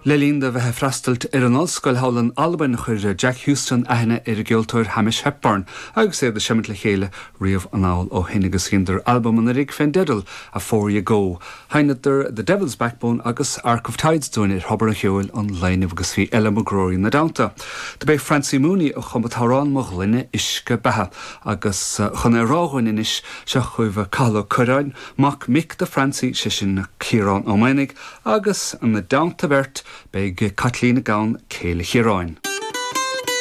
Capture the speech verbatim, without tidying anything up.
Le linn dó bheith ag freastal ar an ollscoil thall in Albain chuir Jack Houston aithne ar an gceoltóir Hamish Hepburn agus iad ag seimint le chéile riamh anall ó shin agus dheineadar albam anuraidh fén dteideal Afore You Go. Sheinneadar The Devil's Backbone agus Arc of Tides dúinn ar Thobar an Cheoil an lae inniu agus bhí Ella McGrory ina dteannta. Do b'é Francie Mooney a chum an t-amhrán Mo Ghloine Uisce Beatha agus eh, chun é a rá dhúinn anois seo chugaibh Cathal Ó Curráin, mac mic do Francie sé sin Ciarán Ó Maonaigh agus ina dteannta beirt beidh Caitlín Gabhann céile Chiaráin.